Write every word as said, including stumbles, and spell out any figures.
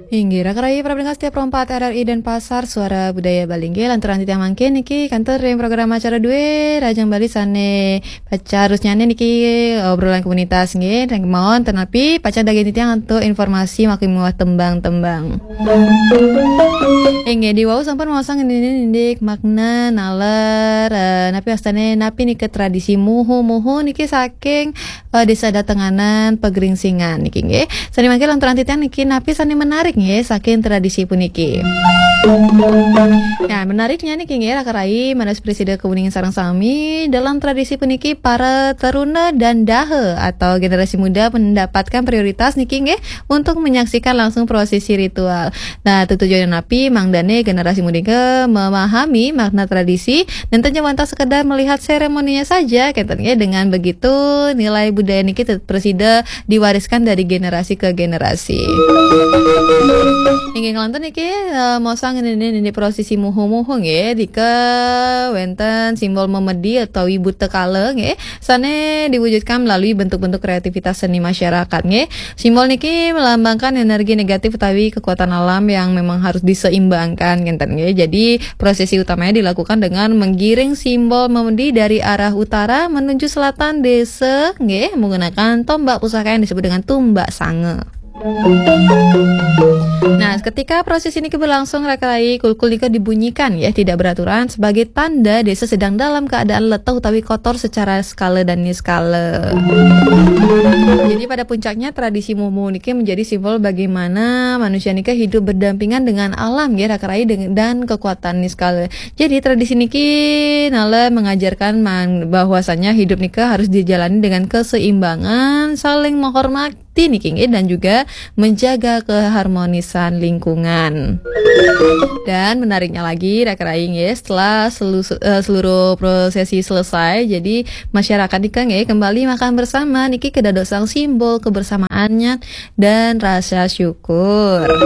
Inggih, raka rayi para pendengar setia Pro empat R R I Denpasar, Suara Budaya Bali. Inggih, lanturang titiang mangkin niki kantun ring program acara dué Rahajeng Bali sané pacang terus nyané niki, obrolan komunitas nggih, ring kemawon ten napi pacang daging titiang antuk informasi makin miwah tembang-tembang. Inggih, diwau sampun maosang indik makna naler, eh, napi wastané, napi nika tradisi muhu-muhu niki saking eh, Désa Datenganan Pegeringsingan niki nggih. Sané mangkin lanturang titiang niki napi sané menarik nggih saking tradisi puniki. Nah, menariknya niki nggih raka rayi, manah prasida kauningin sareng sami, dalam tradisi puniki para taruna dan daha atau generasi muda mendapatkan prioritas niki nggih untuk menyaksikan langsung prosesi ritual. Nah, tujuan napi mangdané generasi muda memahami makna tradisi, nénten wantah sekedar melihat seremoninya saja, kénten nggih. Dengan begitu, nilai budaya niki tetep prasida diwariskan dari generasi ke generasi. Inggih nglantur niki, eh, maosang indik, indik prosesi muhu-muhu nggih, nika wénten simbol memedi utawi buta kala nggih, sané diwujudkan melalui bentuk-bentuk kreativitas seni masyarakat nggih. Simbol niki melambangkan energi negatif utawi kekuatan alam yang memang harus diseimbangkan, ngénten nggih. Jadi, prosesi utamanya dilakukan dengan menggiring simbol memedi dari arah utara menuju selatan desa nggih, menggunakan tombak pusaka yang disebut dengan tumbak sanga. Nah, ketika proses ini berlangsung, raka rayi, kulkul nika dibunyikan ya, tidak beraturan, sebagai tanda desa sedang dalam keadaan letih utawi kotor secara skala dan niskala. Jadi pada puncaknya tradisi mumu niki menjadi simbol bagaimana manusia nika hidup berdampingan dengan alam ya, raka rayi, deng-, dan kekuatan niskala. Jadi tradisi niki nalar mengajarkan man-, bahwasanya hidup nika harus dijalani dengan keseimbangan, saling menghormati niki nggih, dan juga menjaga keharmonisan lingkungan. Dan menariknya lagi, raka rayi nggih, setelah selu-, eh, seluruh prosesi selesai, jadi masyarakat nika nggih kembali makan bersama niki kedadosan simbol kebersamaannya dan rasa syukur.